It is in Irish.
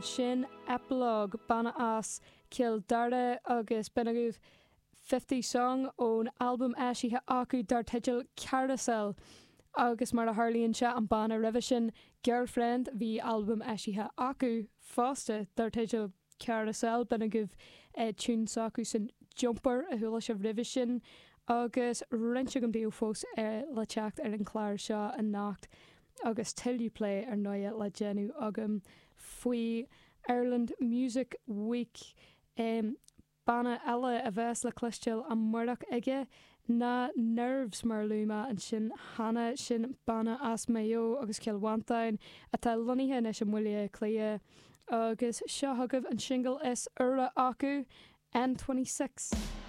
Sin Epilogue, banna as Cill Dara agus b'in agaibh Fifty Song ón albam eisithe acu dar teideal Carousel. Agus mar a tharlaíonn sé, an banna roimhe sin, Girlfriend, bhí albam eisithe acu fosta dar teideal Carousel. B'in agaibh tune s'acusan Jumper a chuala sibh roimhe sin. Agus roinnt agam daoibh fós le teacht ar an chlár seo anocht. Agus tuilleadh plé ar ndóighe le déanamh agam faoi Ireland Music Week. Banna eile a bheas le cloisteáil amárach aige ná Nerves, mar a luaigh mé ansin cheana. Sin banna as Maigh Eo agus Cill Mhantáin atá lonnaithe anois i mBaile Átha Cliath agus seo chugaibh an singil is úire acu, N26.